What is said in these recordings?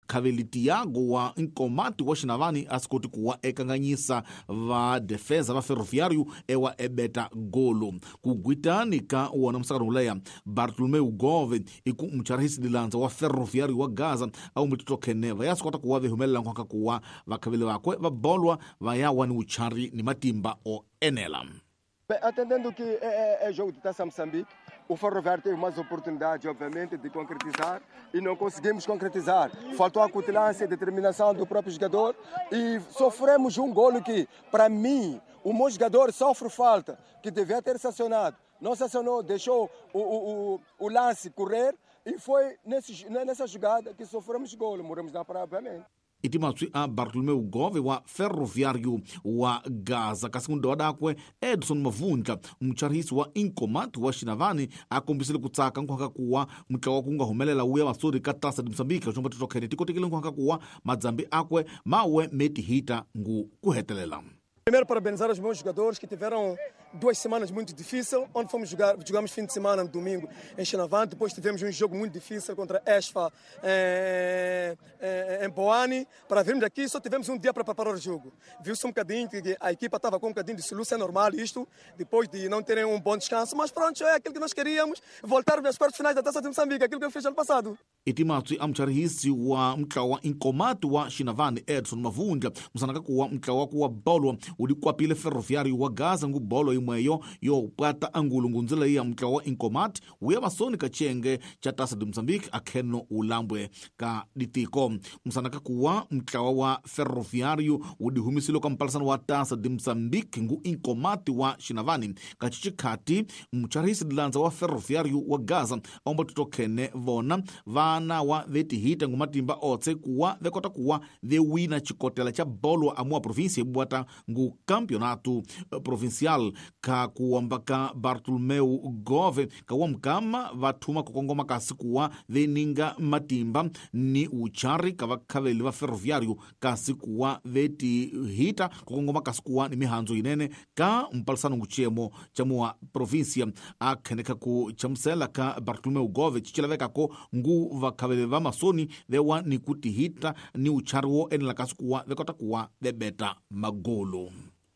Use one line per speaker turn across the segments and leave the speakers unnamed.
Khaveli Tiago wa Nkomati wa Xinavani a swi koti kuwa ekanganyisa va defesa va Ferroviário ewa ebeta golo. Ku gwitani ka wona musakano wuleya Bartolomeu Gove i ku mucharhisi dilandza wa Ferroviário wa Gaza a wu mutitokhene va ya swi kota kuwa vehumelela nkhwaka kuwa vakhaveli vakwe va bolwa va ya wa ni wuchari ni matimba o enela.
Bem, atendendo que é jogo de Taça Moçambique, o Ferroviário teve mais oportunidades, obviamente, de concretizar e não conseguimos concretizar. Faltou a acutilância e determinação do próprio jogador e sofremos um golo que, para mim, o meu jogador sofre falta, que devia ter sancionado. Não sancionou, deixou o lance correr e foi nessa jogada que sofremos golo. Morremos na praia, obviamente.
I timatswi a Bartolomeu Gove wa Ferroviário wa Gaza. Kasi kundowadakwe Edson Mavundla mucharhisi wa Inkomati wa Xinavani a kombisile ku tsaka nkhwaka kuwa mutlawa ku nga humelela wuya vasori ka Taça de Moçambique xomba titokhene tikotekile nkhwaka kuwa madzambi akwe mawe metihita ngu ku hetelela.
Primeiro, parabenizar os meus jogadores que tiveram 2 semanas muito difíceis, onde fomos jogar, jogamos fim de semana no domingo em Xinavante, depois tivemos um jogo muito difícil contra Esfa em Boane. Para virmos aqui só tivemos um dia para preparar o jogo. Viu-se um bocadinho que a equipa estava com um bocadinho de soluço, é normal isto, depois de não terem um bom descanso, mas pronto, é aquilo que nós queríamos, voltar às quartas finais da Taça de Moçambique, aquilo que eu fiz ano passado.
I timatswi a mucharhisi wa mutlawa Inkomati wa Xinavani Edson Mavundla musanaka kuwa mutlawa kuwa bolwa wu dikwapile Ferroviário wa Gaza ngu bolo yimweyo yo pwata angulu ngundzila ya mutlawa Inkomati wuya masoni ka chiyenge cha Taça de Moçambique akheno ulambwe ka ditiko. Musanaka kuwa mutlawa wa Ferroviário wu dihumisile ka mpalisano wa Taça de Moçambique ngu Inkomati wa Xinavani. Ka chichikhati mucharhisi dilandza wa Ferroviário wa Gaza aomba titokhene vona vana wa vetihita ngu matimba otse kuwa vekota kuwa vewina chikotela cha bolo amua província ibwata ngu campeonato provincial. Ka kuwamba ka Bartolomeu Gove kawa mkama vathuma kukongoma kasi kuwa veninga matimba ni uchari ka vakhaveli va Ferroviário kasi kuwa vetihita kukongoma kasi kuwa ni mihandzo yinene ka mpalisano ngu chiyemo cha mua província. Akhenekha ku chamusela ka Bartolomeu Gove chichilavekako ngu vakhaveli va masoni vewa ni kutihita ni uchari wo enela kasi kuwa vekota kuwa vebeta magolo.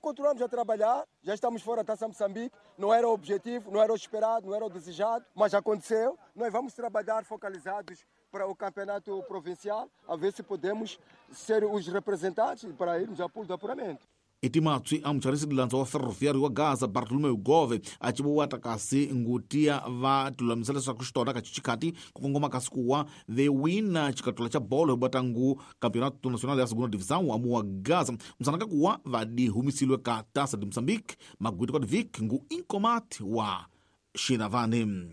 Continuamos a trabalhar, já estamos fora da Taça Moçambique, não era o objetivo, não era o esperado, não era o desejado, mas aconteceu. Nós vamos trabalhar focalizados para o campeonato provincial, a ver se podemos ser os representantes para irmos ao pool de apuramento.
I timatswi a mucharisi dilandza wa Ferroviário wa Gaza Bartolomeu Gove a civuwata kasi ngutiya va tilulamisela leswaku xitona ka chichikhati ku kongoma kasi kuwa vewina xikatula cha bolo hibwata ngu Campeonato Nacional ya Segunda Divisão amuwa Gaza musanaka kuwa vadihumisilwe ka Taça de Moçambique magwiti kwa divik ngu Inkomati wa Xinavani.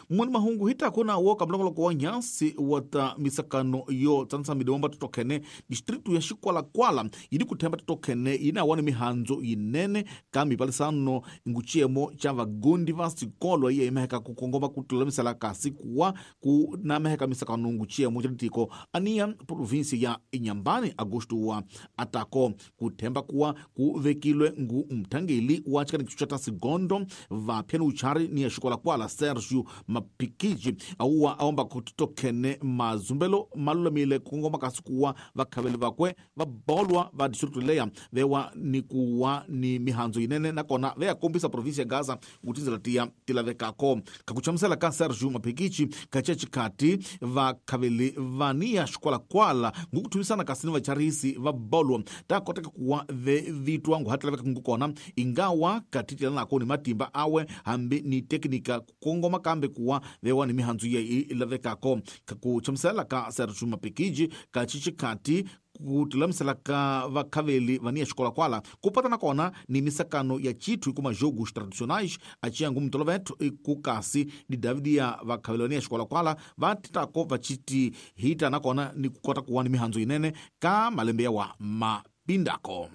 Mwani mahungu hitako na wo kamulongoloko wa nyansi wa ta misakano yo tsanisa midewomba totokhene distritu ya Xikwalakwala yidi kuthemba totokhene yina wani mihandzo yinene ka mipalisano nguchiyemo cha vagundi va sikolo iye imeheka kukongoma kutulamisela kasi kuwa ku nameheka misakano nguchiyemo cha ditiko aniya provinsi ya Inhambane Agosto wa atako kuthemba kuwa kuvekilwe ngu mthangeli wa chikanikicho cha tasigondo vaphyani uchari ni ya Xikwalakwala Sergio Mapikiji auwa aomba kutitokhene mazumbelo malulamile kukongoma kasi kuwa vakhaveli vakwe vabolwa va distritu leya vewa ni kuwa ni mihandzo yinene nakona veyakombisa provinsia ya Gaza kutindzela tiya tilavekako. Kakuchamusela ka Sergio Mapikichi kacia chikhati vakhaveli vaniya Xikwalakwala ngukuthumisana kasi ni vacharisi va bolwa takoteka kuwa vevitwa nguhatilaveka ngukona ingawa katitilanako ni matimba awe hambi ni teknika kukongoma kambe kuwa vewa ni mihandzo ye ilavekako. Kakuchamusela ka Sergio Mapikiji kachichikhati kutulamisela ka vakhaveli vaniya Xikwalakwala kupatana kona ni misakano ya chithu ikuma jogos tradicionais aciyangu mutolovetho ikukasi ni Davidi ya vakhaveli vaniya Xikwalakwala vatitako vachiti hita nakona ni kukota kuwa ni mihandzo yinene ka malembe yawa mapindako.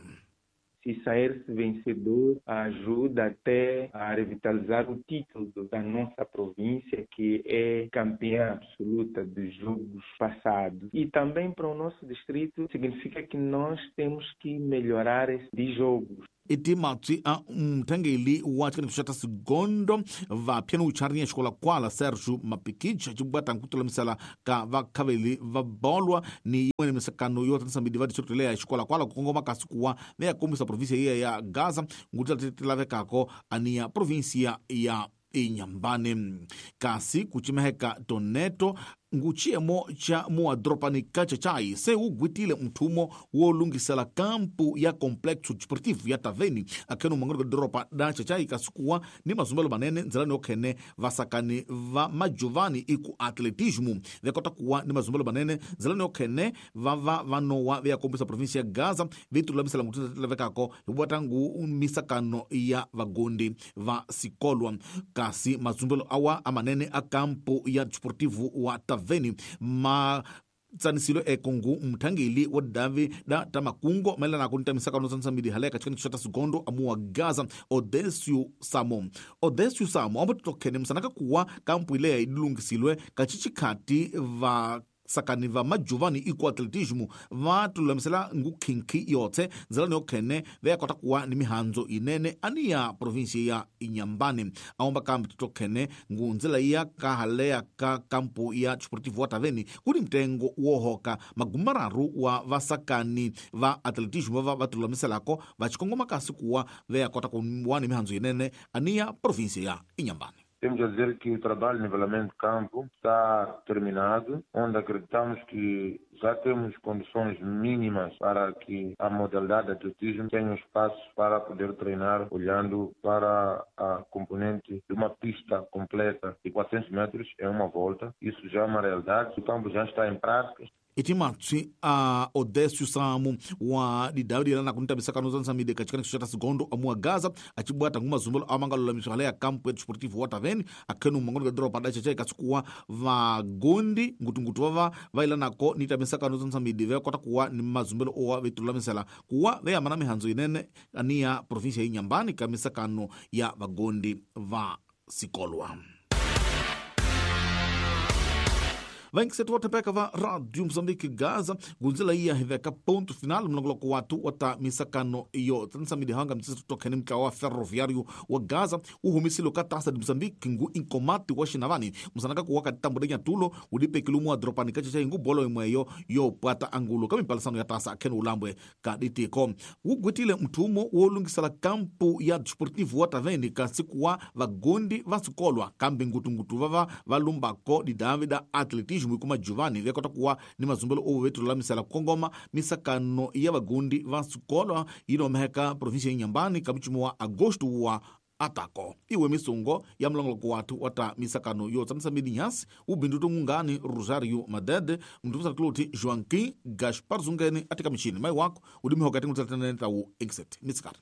Se sair-se vencedor, ajuda até a revitalizar o título da nossa província, que é campeã absoluta dos jogos passados. E também para o nosso distrito, significa que nós temos que melhorar esses jogos.
Iti matswi a mthangeli wa tshikaniso xa ta sigondo vaphyani ucharinya xikolakwala Sergio Mapikij acibwata nkutulamisela ka vakhaveli va bolwa ni yin'wana misakano yo tatisa midi va district leya ya xikolakwala ku kongoma kasi kuwa ve ya kombisa provinsia yiya ya Gaza ngutila ti lavekako aniya provinsia ya Inhambane. Kasi kucimeheka toneto nguchiemo cha muadropani Cachachai se ugwitile mthumo wo lungisela kampu ya complexo desportivo ya Taveni akheno mangano doropa da Chachai kasikuwa ni mazumbelo manene ndzilani yokhene vasakani va majovani iku atletismo vekota kuwa ni mazumbelo manene ndzilani yokhene vava vanowa veyakombisa provinsia ya Gaza vitulamisela ngutulevekako hibwata ngu misakano ya vagondi va sikolwa. Kasi mazumbelo awa amanene a kampu ya desportivo wa Taveni ma tsanisilo ekongu mthangeli wa davi da tamakungo mayelana ku ntamisakano tsanisa haleka tshikaniso xa ta sigondo amuwa Gaza Odesio Samo ambotokhene msanaka kuwa kampu ileya idilungisilwe kachichikhati va sakani va majovani iku atletismo va tululamisela ngukhinkhi yotse ndzilani yokhene veyakota kuwa ni mihandzo inene ani ya provinsia ya Inhambane. Aomba kambi totokhene ngu ndzila iya kahaleya ka kampu ya desportivo wa Taveni kuni mtengo wohoka magumararu wa vasakani va atletismo va tululamiselako va xikongoma kasi kuwa veyakota kuwa ni mihandzo inene ani ya provinsia ya Inhambane.
Temos a dizer que o trabalho de nivelamento de campo está terminado, onde acreditamos que já temos condições mínimas para que a modalidade de atletismo tenha um espaço para poder treinar, olhando para a componente de uma pista completa de 400 metros em uma volta. Isso já é uma realidade, o campo já está em prática.
Iti matswi a Odésio Samo wa didawudi na kunitamisakano zansamide kachikaniso xa ta sigondo amuwa Gaza acibwata ngu mazumbelo amangalulamiswa haleya kampu ya desportivo wa Taveni akhenu mangoni ka doropa da Chachai kasikuwa vagondi ngutungutu vava vailanako ni tamisakano zansamide vekota kuwa ni mazumbelo owa vetululamisela kuwa veyamana mihandzo inene aniya provinsia ya Inhambane ka misakano ya vagondi va sikolwa. Vaingiseti vothepeka va Radio Mozambique Gaza gunzela iya hiveka ponto final mlongoloko watu wa ta misakano yo tsanisa hanga mtsisi tokhene mtlawa wa ferroviário wa Gaza uhumisile ka taça de Mozambique ngu inkomati wa xinavani musanaka kuwa ka tambo nyatulo udipekile mu adropani kachecha ngu bolo imweyo yo pwata angulo ka mipalisano ya taça akhene ulambwe ka ditiko wugwitile mthumo wo lungisela kampu ya desportivo wa Taveni kasi kuwa vagondi va sikolwa kambe ngutungutu vava va lumbako didavi da atletismo kuma Giovanni vekota kuwa ni mazumbelo owo vetululamisela kukongoma misakano ya vagundi va sikolwa yinomeheka provinsia ya Inhambane ka mchumo wa agosto wa atako iwe misungo ya mlongoloko watu wa ta misakano yo tsamisa midi nyasi ubindu tungungani Rosario Madede mndu Claude Joaquim Gaspar Zungeni atika michini mai wako udimihoka tingutsatenene tawu exit mitsikari.